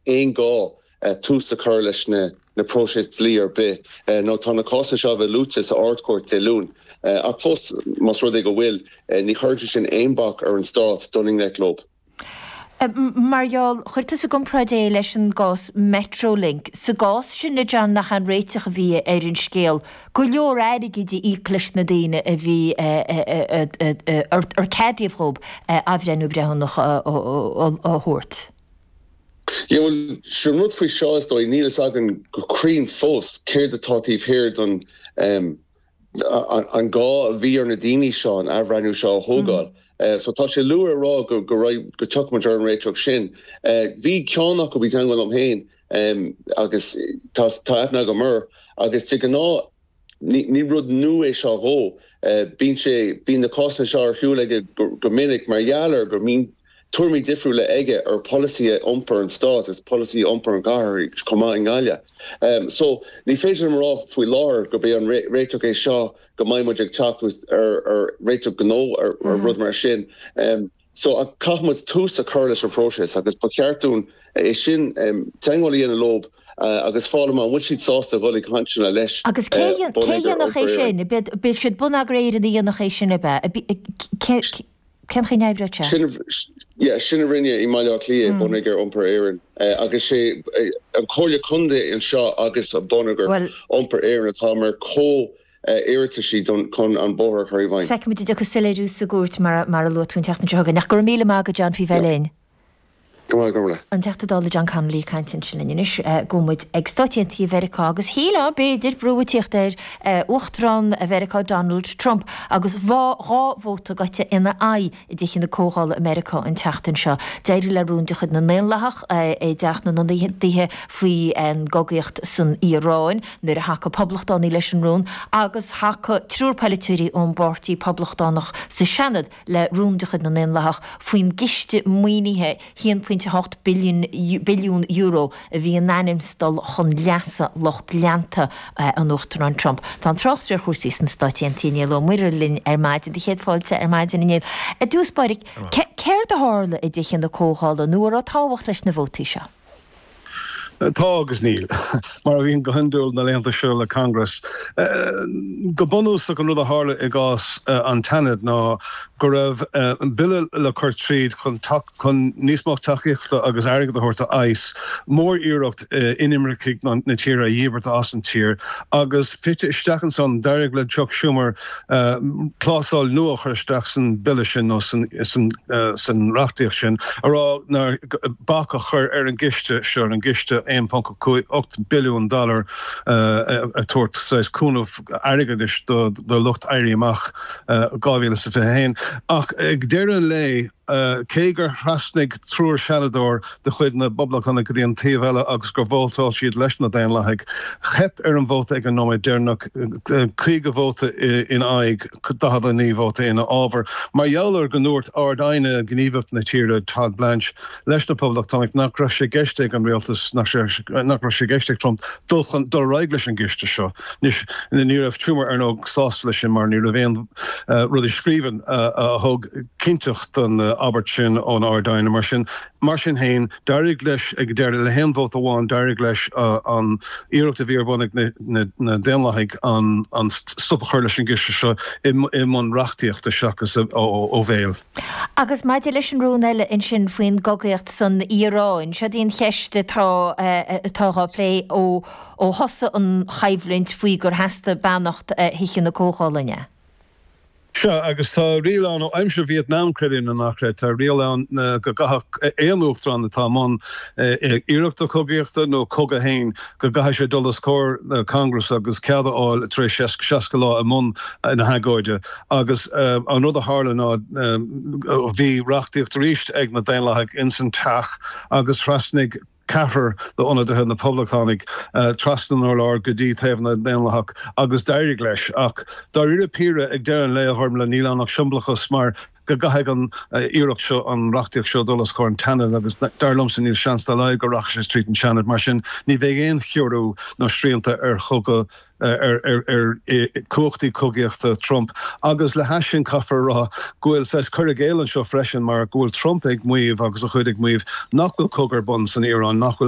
aon ghá tús a chur leis na próisis dlí ar bith nó tá na cásanna seo a bheith luaite sa Ard-Chúirt Dé Luain. Ach fós, más rud é go bhfuil, ní chuireann sé sin aon bac ar an Stát dul i ngleic leo. Mar gheall, chuir tusa i gcomparáid é leis an gcás Metrolink. Sa gcás sin, a John, nach é an réiteach a bhí ar an scéal go leor airgid a íoc leis na daoine a bhí ar ceadaíodh dhóibh athbhreithniú breithiúnach a thabhairt? Yeah, bhuel, sin an rud faoi seo, is dóigh, níl fhios againn go cruinn fós céard atá taobh thiar don an gá a bhí ar na daoine seo an athbhreithniú seo a thógáil. So tá sé luath a rá go go go dtiocfaidh muid ar an réiteach sin. Bhí ceann acu i dteangmháil liom féin agus tá tá aithne agam air agus de ghnáth ní ní rud nua é seo dhó. Bíonn sé bíonn na cásanna seo ar siúl aige go go minic mar gheall ar go mbíonn tuairimí difriúla aige ar pholasaithe iompair an stáit is polasaithe iompair an chathair chomh maith i nGaillimh. So, ní féidir liom a rá faoi láthair gurb é an réiteach é seo go mbeidh muid ag teacht ar réiteach gnó ar rud mar sin. So, caithfidh muid tús a chur leis an phróiseas agus ba cheart dúinn é sin teagmháil a dhéanamh leo agus fáil amach an bhfuil siad sásta dhul ag cainteanna leis Agus cé Bonneagar dhéanfadh é Iompair sin? B'é siad Bonneagar Éireann a dhéanfadh é sin, ab ea? Cén chaoi a n-oibreodh sé? Sin, yeah, sin a rinne i mBaile Átha Cliath, Bonneagar Iompair Éireann. Agus sé an Comhairle Contae anseo agus Bonneagar Iompair Éireann atá mar chomh-iarrataisí chun an bóthar a chur i bhfeidhm. Feicfimid an dtiocfaidh soiléiriú sa gcúirt mar a luaigh tú an tseachtain seo chugainn. Ach go raibh míle maith agat John faoi bheith linn. Go maith, go raibh. An Teachta Dála John Connolly ag caint ansin linn anois. Gabhfaidh muid ag Stáit Aontaithe Mheiriceá agus shílfeá, b'fhéidir, brú ag tíocht ar Uachtarán Mheiriceá Donald Trump agus dhá vóta gaibhte ina aghaidh i dTithe na Comhdhála i Meiriceá an tseachtain seo. D'éirigh le rún de chuid na nDaonlathach i dTeach na nIonadaithe faoin gcogaíocht san Iaráin nuair a thacaigh Poblachtánaigh leis an rún agus thacaigh triúr polaiteoirí ón bPáirtí Poblachtánach sa Seanad le rún de chuid na nDaonlathach faoin gciste maoinithe €1.8 billiún a bhí in ainm 's dul chun leasa lucht leanta an Uachtaráin Trump. Tá an tráchtaire ar chúrsaí sna Stáit Aontaithe, Niall Ó Muirthile linn ar maidin. Do chéad fáilte ar maidin, a Néill. I dtús báire, céard a tharla i dTithe na Comhdhála nó an raibh tábhacht leis na vótaí seo? Tá agus níl. Mar a bhíonn go hiondúil na laethanta seo le Congress. Go bunúsach an rud a tharla i gcás an tSeanaid ná go raibh bille le cur tríd chun chun níos mó tacaíochta agus airgead a thabhairt do ICE, mór-iarracht inimircigh na tíre a dhíbirt as an tír agus fite isteach ansan d'éirigh le Chuck Schumer clásal nua a chur isteach san bille sin nó san reachtaíocht sin a rá nár bac a chur ar an gciste seo, ar an gciste 1.8 billiún dollar a tabhairt saghas cúnamh airgeadais do lucht Éirí Amach 2021. Ach ag deireadh an lae, cé gur thrasnaigh triúr seanadóir de chuid na bPoblachtánach go dtí an taobh eile agus gur vótáil siad leis na Daonlathaigh, theip ar an vóta ag an nóiméad deireanach, 50 vóta in aghaidh, 49 vóta ina fhábhar. Mar gheall ar go ndúirt Ard-Aighne Gníomhach na tíre, Todd Blanche, leis na Poblachtánaigh nach raibh sé i gceist ag an rialtas, nach raibh sé i gceist ag Trump dul chun, dul ar aghaidh leis an gciste seo. Anois, ní raibh Schumer, ar ndóigh, sásta leis sin mar ní raibh aon rud i scríbhinn a thug cinnteacht don abairt sin ón Ard-Aighne. Mar sin, mar sin féin, d'éirigh leis ag deireadh, le haon vóta amháin, d'éirigh leis an iarracht a bhí ar bun ag na Daonlathaigh an stop a chur leis an gciste seo i mbun reachtaíochta seachas ó bhéal. Agus maidir leis an rún eile ansin faoin gcogaíocht san Iaráin, seod í an cheist atá atá dhá plé ó ó thosaigh an choimhlint faoi gur theastaigh beannacht Thithe na Comhdhála, an ea? Sea, agus tá riail ann ó aimsir Vietnam, creid é nó ná creid, tá riail ann go gcaithfeadh aon uachtarán atá i mbun iarrachta cogaíochta nó cogadh féin, go gcaithfidh sé dul os comhair Congress agus cead a fháil tar éis 60 lá i mbun na hagóide. Agus an rud a tharla ná bhí reachtaíocht arís ag na Daonlathaigh ins an teach agus thrasnaigh ceathrar d'ionadaithe na Poblachtánaigh trasna an urláir go dtí taobh na nDaonlathach agus d'éirigh leis. Ach dáiríre píre, ag deireadh an lae, a Ghormlaith, níl ann ach siombalachas mar go gcaithfidh an iarracht seo, an reachtaíocht seo dul os comhair an tSeanaid agus dar liomsa níl seans dá laghad go rachaidh sé tríd an Seanad. Mar sin ní bheidh aon chiorrú nó srianta ar chogadh ar chumhachtaí cogaíochta Trump. Agus le hais sin caithfear a rá go bhfuil saghas cur i gcéill anseo freisin mar go bhfuil Trump ag maíomh agus a chuid ag maíomh nach bhfuil cogadh ar bun san Iaráin, nach bhfuil.